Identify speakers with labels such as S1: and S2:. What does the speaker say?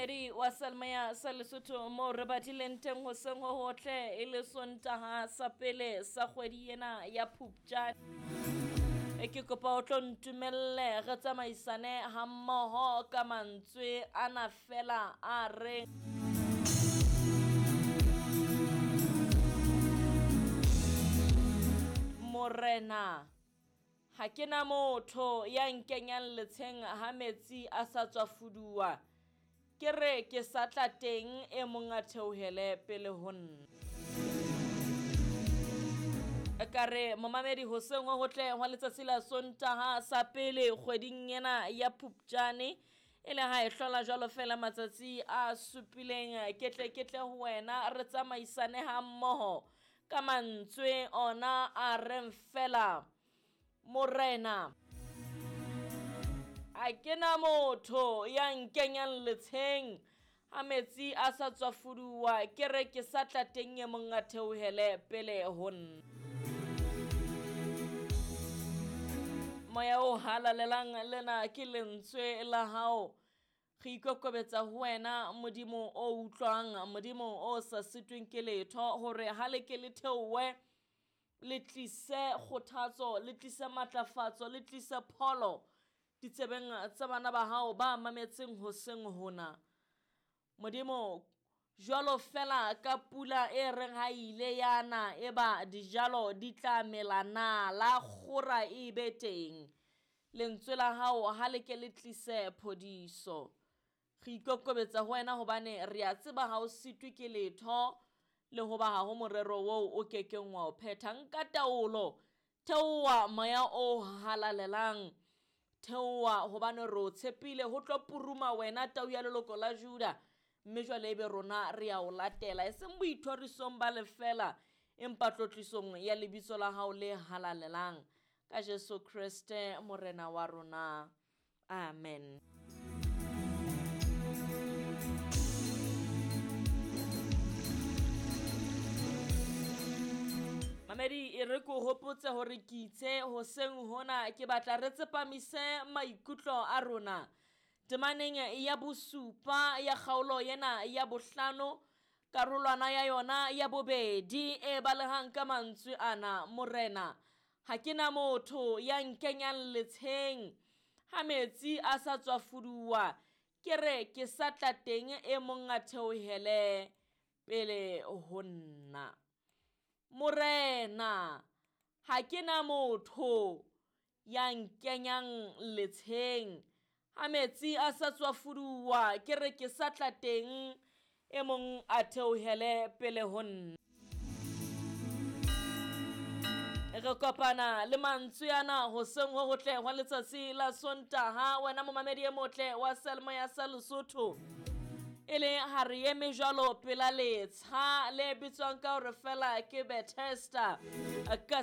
S1: Momamedi wa Selmaya sa Lesotho moo re badileng teng hoseng ho hotle e le Sontaha sa pele sa kgwedi ena ya Phupjane. E ke kopa o tlo ntumelle re tsamaisane hammoho ka mantswe ana fela a reng Morena ha ke na motho ya nkenyang letsheng ha metsi a sa tswa fuduwa. Ke re ke sa tla teng e mong a theohele pele ho nna. Ka re momamedi hoseng ho hotle hwa letsatsi la Sontaha sa pele kgweding ena ya Phupjane e le ha e hlola jwalo fela matsatsi a supileng ke tle ke tle ho wena re tsamaisane ha mmoho ka mantswe ona a reng fela Morena a ke na motho ya nkenyang letsheng ha metsi a sa tswa fuduwa ke re ke sa tla teng e mong a theohele pele ho nna. Moya o halalelang lena ke lentswe la hao. Re ikokobetsa ho wena Modimo o utlwang, Modimo o sa sitweng ke letho hore ha le ke le theohe le tlise kgothatso, le tlise matlafatso, le tlise pholo ditsebeng tsa bana ba hao ba mametseng hoseng hona. Modimo jwalo fela ka pula e reng ha ile ya na eba dijalo di tla mela nala kgora e be teng. Lentswe la hao ha le ke le tlise phodiso. Re ikokobetsa ho wena hobane re a tseba ha o sitwe ke letho le hoba ha ho morero oo o kekeng wa o phetha. Nka taolo, theoha moya o halalelang. Theoha hobane re o tshepile ho tlo puruma wena tau ya leloko la Juda. Mme jwale ebe rona re a o latela e seng boithorisong ba lefela empa tlotlisong ya lebitso la hao le halalelang. Ka Jesu Kreste morena wa rona. Amen. Mamedi e re ko hopotse hore ke itse hoseng hona ke batla re tsepamise maikutlo a rona temaneng ya bosupa ya kgaolo ena ya bohlano karolwana ya yona ya bobedi e balehang ka mantswe ana Morena ha ke na motho ya nkenyang letsheng ha metsi a sa tswa fuduwa ke re ke sa tla teng e mong a theohele pele ho nna. Morena ha ke na motho ya nkenyang letsheng ha metsi a sa tswa fuduwa ke re ke sa tla teng e mong a theohele pele ho nna. Re kopana le mantswe ana hoseng ho hotle hwa letsatsi la Sontaha wena momamedi e motle wa Selmoya sa Lesotho. E le ha re eme jwalo pela letsha le bitswang ka hore fela ke Bethesda ka